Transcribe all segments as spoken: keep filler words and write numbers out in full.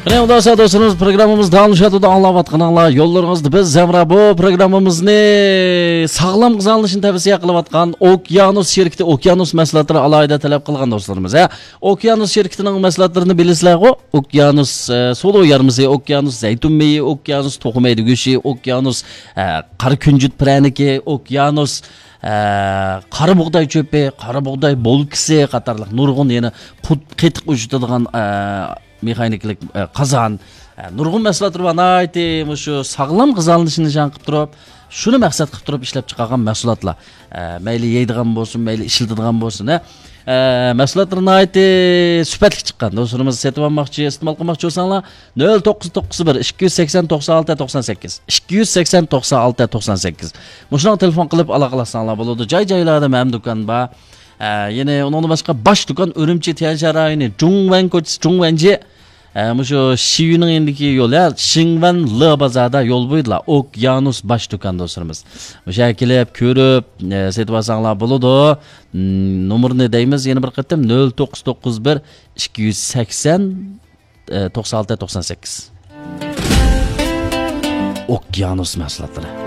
قېنى، ئۇنداق بولسا دوستلىرىمىز، پروگراممىمىز داۋاملىشىۋاتىدۇ، ئاڭلاۋاتقىنىڭلار يوللىرىڭىزدا بىز ھەمراھ. بۇ پروگراممىمىزنى ساغلام غىزالىنىشنى تەۋسىيە قىلىۋاتقان ئوكيانۇس شىركىتى، ئوكيانۇس مەھسۇلاتلىرى ئالاھىدە تەلەپ قىلغان دوستلىرىمىز، ھە. ئوكيانۇس شىركىتىنىڭ مەھسۇلاتلىرىنى بىلىسىلەرغۇ؟ ئوكيانۇس، ئە، سۇلۇ يارمىسى، ئوكيانۇس زەيتۇن مېيى، ئوكيانۇس توخۇ مەيدە گۆشى، ئوكيانۇس، ئە، قارا كۈنجۈت پىرەنىكى، ئوكيانۇس، ئە، قارا بۇغداي چۆپى، قارا بۇغداي بولكىسى قاتارلىق نۇرغۇن يەنە قۇت-، قېتىق ئۇششىتىدىغان، ئە، مېخانىكىلىق، ئە، قازان، ئە، نۇرغۇن مەھسۇلاتلار بار. ناھايىتى مۇشۇ ساغلام غىزالىنىشنى نىشان قىلىپ تۇرۇپ، شۇنى مەقسەت قىلىپ تۇرۇپ ئىشلەپ چىقارغان مەھسۇلاتلار. ئە، مەيلى يەيدىغان بولسۇن، مەيلى ئىشلىتىدىغان بولسۇن، ھە. ئە، مەھسۇلاتلىرى ناھايىتى سۈپەتلىك چىققان. دوستلىرىمىز سېتىۋالماقچى، ئىستېمال قىلماقچى بولساڭلار، نۆل توققۇز توققۇز بىر، ئىككى يۈز سەكسەن، توقسان ئالتە، توقسان سەككىز، ئىككى يۈز سەكسەن، توقسان ئالتە، توقسان سەككىز. مۇشۇنىڭغا تېلېفون قىلىپ ئالاقىلاشساڭلار بولىدۇ. جاي-جايلاردا مەلۇم دۇكان بار. ئە، يەنە ئۇنىڭدىن باشقا باش دۇكان ئۈرۈمچى تيەنشان رايونى، جۇڭۋەن كوچىسى، جۇڭۋەنجى. ئە، مۇشۇ شىيۈنىڭ يېنىدىكى يول، يا، شىڭۋەن لې بازاردا يول بويىدىلا، ئوكيانۇس باش دۇكان دوستلىرىمىز. مۇشۇ يەرگە كېلىپ، كۆرۈپ، ئە، سېتىۋالساڭلار بولىدۇ. م، نومۇرنى دەيمىز يەنە بىر قېتىم، نۆل توققۇز توققۇز بىر، ئىككى يۈز سەكسەن، ئە، توقسان ئالتە، توقسان سەككىز. ئوكيانۇس مەھسۇلاتلىرى.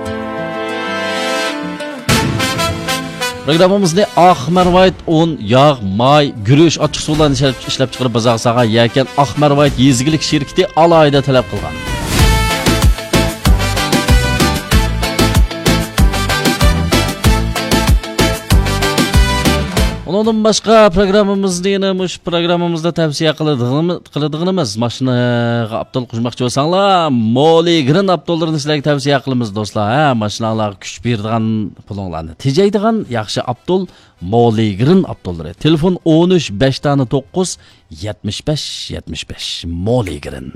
پروگراممىمىزنى ئاق مەرۋايىت ئۇن، ياغ، ماي، گۈرۈچ، ئاچچىقسۇلارنى ئىشلەپ، ئىشلەپچىقىرىپ بازارغا سالغان يەكەن ئاق مەرۋايىت يېزا ئىگىلىك شىركىتى ئالاھىدە تەلەپ قىلغان. ئۇنىڭدىن باشقا پروگراممىمىزنى يەنە مۇشۇ پروگراممىمىزدا تەۋسىيە قىلىدىغىنىمىز، قىلىدىغىنىمىز، ماشىنىغا ئاپتول قوشماقچى بولساڭلار، مولىگرىن ئاپتوللىرىنى سىلەرگە تەۋسىيە قىلىمىز، دوستلار. ھە، ماشىناڭلارغا كۈچ بېرىدىغان، پۇلۇڭلارنى تېجەيدىغان ياخشى ئاپتول، مولىگرىن ئاپتوللىرى. تېلېفون: ئون ئۈچ، بەش دانە توققۇز، يەتمىش بەش، يەتمىش بەش. مولىگرىن.